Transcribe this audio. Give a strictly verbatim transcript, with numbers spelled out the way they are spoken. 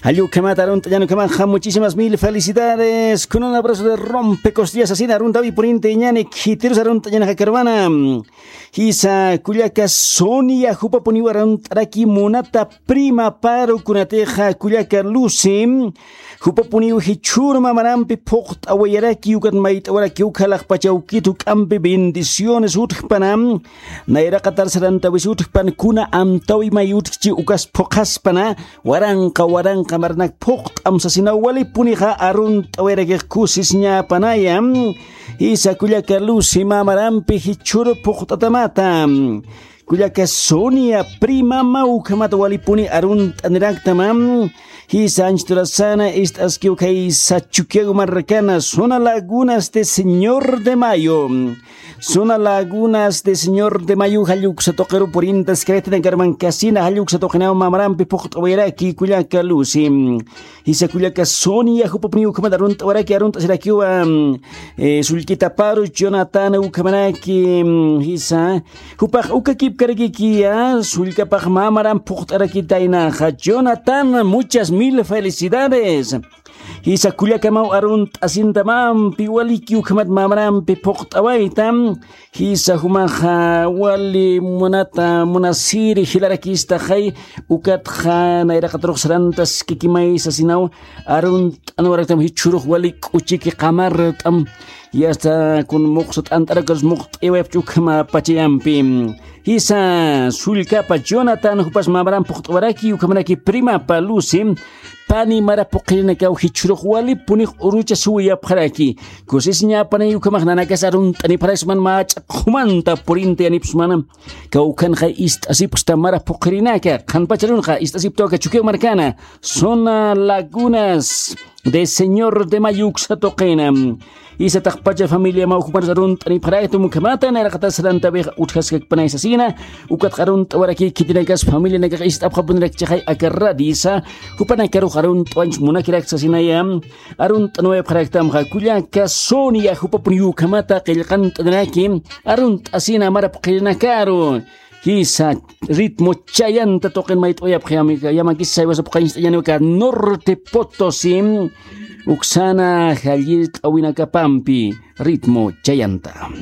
Jallukhamata arunt'añan ukhamaxa, muchísimas mil felicidades. Con un abrazo de rompe costillas asina aruntawi purinti ñani khitirus arunt'añan jakarwana. Jisa kullaka Sonia jupapuniw arunt'araki munata prima Paru kunatixa kullaka Lucy. Jupapuniw jichhur mamarampi phuqt'awayaraki ukat mayt'awarakiw khalaqpachaw kit juk'ampi bendiciones utjpana. Nayraqatar sarantawisutjpan kuna amtawi may utjchi ukas phuqhaspana. Waranqa waranqa maranak phuqt'am sasinaw walipunixa arunt'awirakix kusisñapanaya. Jisa kullaka Lucy mamarampi jichhur phuqt'atamata. Kullaka Sonia primama ukhamata walipuni arunt'aniraktama. Jisa anchturasana ist'askiw khaysa Chukiyago marrakana zona Lagunas de Señor de Mayo. Zona Lagunas de Señor de Mayo jalluksa tuqiru purintas cretina garman casina jalluksa tuqinaw mamarampi phuqt'awiraki kullaka Lucy. Jisa kullaka Sonia jupapuni ukhamat arunt'awaraki arunt'asirakiwa. Sullkita Paru Jonathan ukhamaraki. Jisa jupax ukakipkarakikiya sullkapax mamaram phuqt'arakitaynaxa Jonathan, muchas mil felicidades. Jisa kullakamaw arunt'asintamampi waliki ukhamat mamarampi phuqt'awayta. Jisa jumaxa wali munata munasiri jilarakistaxay. Ukatxa nayraqatarux sarantas kikimay sasinaw arunt'anwaraktam jichhurux wali k'uchiki qamart'am. Yasta kun muqsa t'ant'arakarus muqt'iwayapch ukhama pachayampi. Jisa sullkapa Jonathan jupas mamaram phuqt'awaraki ukhamaraki primapa Lucy. Pani mara phuqhirinakaw jichhurux walipunix urucha suwiyapxaraki. Kusisiñapanay ukhamax nanakas arunt'anipxaraksman mä ch'aqjumanta purintayanipxsmana. Kawkhanxa ist'asipxsta mara phuqhirinaka qhanpacharunxa ist'asiptaw aka Chukiyaw markana. Zona Lagunas de Señor de Mayo uksa tuqina. Jisa taqpacha familiamaw jupanas arunt'anipxaraktam ukhamata nayraqatas sarantawixa utjaskakpanay sasina. Ukatxa arunt'awaraki khitinakas familianakax ist'apxapunirakchixay aka radisa. Jupanakarux arunt'awañch munakirak sasinaya. Arunt'anwayapxaraktamxa kullaka Sonia jupapuniw ukhamata qillqant'aniraki. Arunt'asina mara phuqhirinakaru. Jisa ritmo chayanta tuqin mayt'awayapxi. Yamakis saywasa phuqañcht'añaniwaka Norte Potosí. Uksana jallirt'awinakapampi ritmo chayanta.